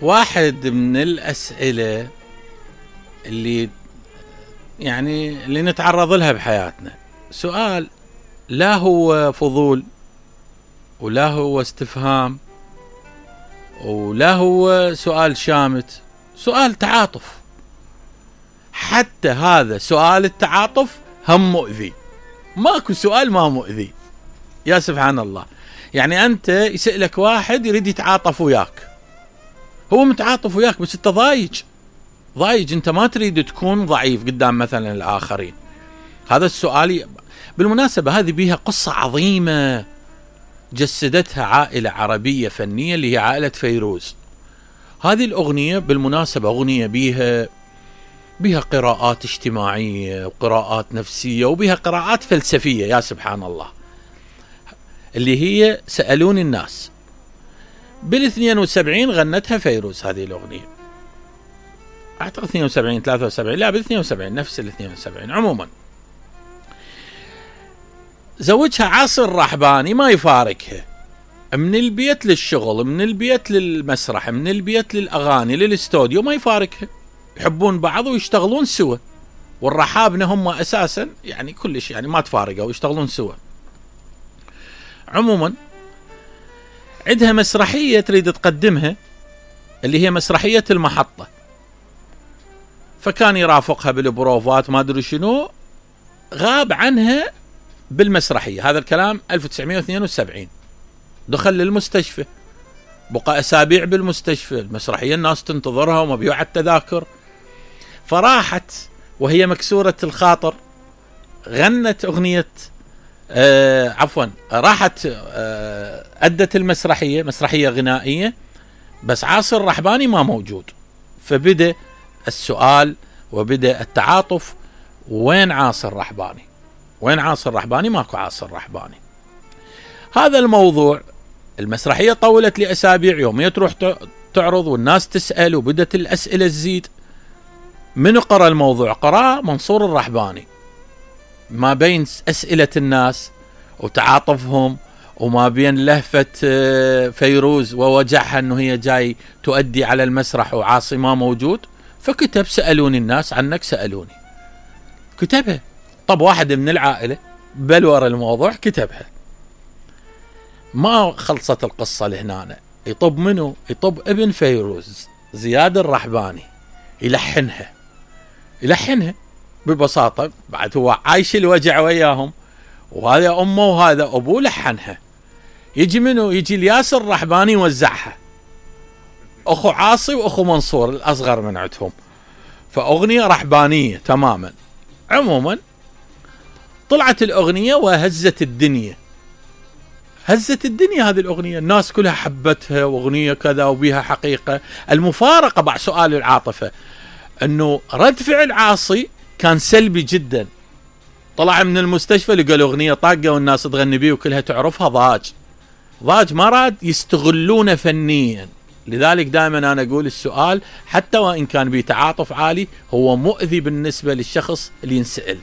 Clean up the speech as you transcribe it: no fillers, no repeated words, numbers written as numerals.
واحد من الأسئلة اللي نتعرض لها بحياتنا، سؤال لا هو فضول ولا هو استفهام ولا هو سؤال شامت، سؤال تعاطف. حتى هذا سؤال التعاطف هم مؤذي، ماكو سؤال ما مؤذي. يا سبحان الله. يعني أنت يسألك واحد يريد يتعاطف وياك، هو متعاطف وياك بس أنت ضايج، أنت ما تريد تكون ضعيف قدام مثلا الآخرين. هذا السؤال بالمناسبة هذه بيها قصة عظيمة جسدتها عائلة عربية فنية اللي هي عائلة فيروز. هذه الأغنية بالمناسبة أغنية بيها قراءات اجتماعية وقراءات نفسية وبيها قراءات فلسفية. يا سبحان الله. اللي هي سألوني الناس بال72 غنتها فيروز هذه الأغنية، أعتقد 72 73 لا بال72 نفس ال72. عموما زوجها عاصي الرحباني ما يفارقها، من البيت للشغل، من البيت للمسرح، من البيت للأغاني للاستوديو، ما يفارقها. يحبون بعض ويشتغلون سوا، والرحابنة هم أساسا يعني كلش يعني ما تفارقوا ويشتغلون سوا. عموما عندها مسرحية تريد تقدمها اللي هي مسرحية المحطة، فكان يرافقها بالبروفات ما أدري شنو، غاب عنها بالمسرحية. هذا الكلام 1972. دخل للمستشفى، بقى أسابيع بالمستشفى، المسرحية الناس تنتظرها ومبيوعة التذاكر. فراحت وهي مكسورة الخاطر، غنت أغنية راحت أدت المسرحية، مسرحية غنائية، بس عاصي الرحباني ما موجود. فبدأ السؤال وبدأ التعاطف، وين عاصي الرحباني؟ وين عاصي الرحباني؟ ماكو عاصي الرحباني. هذا الموضوع المسرحية طولت لأسابيع، يومية تروح تعرض والناس تسأل وبدت الأسئلة تزيد. من قرأ الموضوع؟ قرأ منصور الرحباني. ما بين أسئلة الناس وتعاطفهم وما بين لهفة فيروز ووجعها أنه هي جاي تؤدي على المسرح وعاصي ما موجود، فكتب سألوني الناس عنك سألوني، كتبها. طب واحد من العائلة بلور الموضوع كتبها. ما خلصت القصة لهنا، يطب منه؟ يطب ابن فيروز زياد الرحباني يلحنها ببساطة. بعد هو عايش الوجع وياهم، وهذا أمه وهذا أبوه لحنها. يجي منه؟ يجي الياس الرحباني يوزعها، أخو عاصي وأخو منصور الأصغر من عندهم، فأغنية رحبانية تماما. عموما طلعت الأغنية وهزت الدنيا، هزت الدنيا هذه الأغنية، الناس كلها حبتها، وأغنية كذا وبيها حقيقة. المفارقة بعد سؤال العاطفة أنه رد فعل عاصي كان سلبي جدا. طلع من المستشفى لقى الأغنية طاقة والناس تغني بيه وكلها تعرفها، ضاج ما راد يستغلونه فنيا. لذلك دائما أنا أقول السؤال حتى وإن كان بتعاطف عالي هو مؤذي بالنسبة للشخص اللي ينسأل.